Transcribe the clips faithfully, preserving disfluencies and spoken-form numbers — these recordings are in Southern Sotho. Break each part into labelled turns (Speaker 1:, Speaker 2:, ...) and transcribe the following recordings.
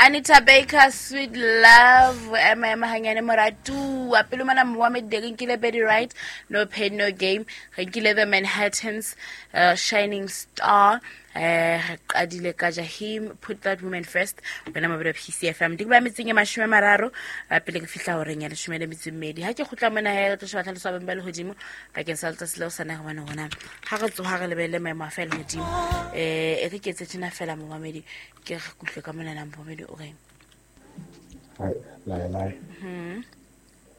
Speaker 1: Anita Baker, Sweet Love, ema ema hanyane moratuwa pele mona Mohammed re nkile Betty Wright, No Pain No Game, re nkile The Manhattans, uh, Shining Star, eh re qadile ka Jahim, Put That Woman First. Wena mabelo P C F M di ba metseng e mashome a mararo, eh, pele ke fihla horeng ya leshome le metso e mmedi. Ha ke kgutla mona he, re tlo sheba tlhaloso ya beng ba lehodimo bakeng sa letsatsi leo sana hobane rona ha re tsoha re lebelle maemo a fa lehodimo. Eh, e re ke etse tjena fela momamedi, ke re kutlwe ka monana momamedi o reng?
Speaker 2: Hai, lai, lai.
Speaker 1: Hmm.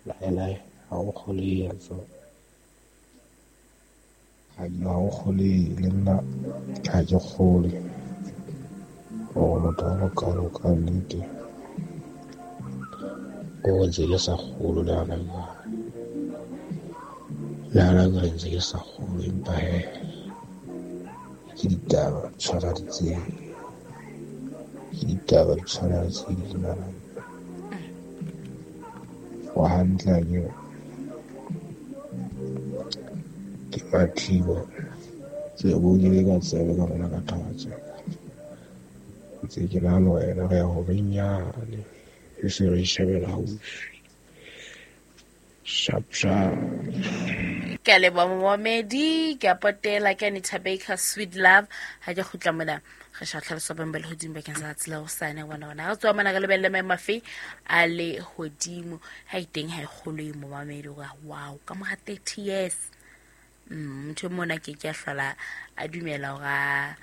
Speaker 2: Lai, lai. Ha o kgole ya tswa. Ha ha o kgole le nna ha ke kgole. Hore motho a mokalo ka nnete. Ko ntse ke sa kgolo le hana jwale. Le hana jwale ntse ke sa kgolo, empa he, ke ditaba di tshwana le tse. Ke ditaba di tshwana le tse ding mara. Wa hantle ha ke ke Mathibo. Tsebo ke le ka tsebe ka bona ka taba tse. Ntse ke nahana hore yena re ya ho benyane. E se re shebela haufi. Sharp, sharp.
Speaker 1: Ke a leboha momamedi, ke a potela ke Anita Baker, Sweet Love. Ha ke kgutla mona re sheba tlhaloso ya beng ba lehodimo bakeng sa tsela hosane bona bona. Ha re tswa mona re lebelle maemo afe a lehodimo. Ha e teng ha e kgolwe momamedi hore wow, ka mora thirty years. Mm, motho e mona ke ke a hlola a dumela hore a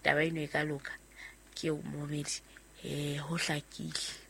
Speaker 1: taba eno e ka loka. Ke eo momamedi, eh, ho hlakile.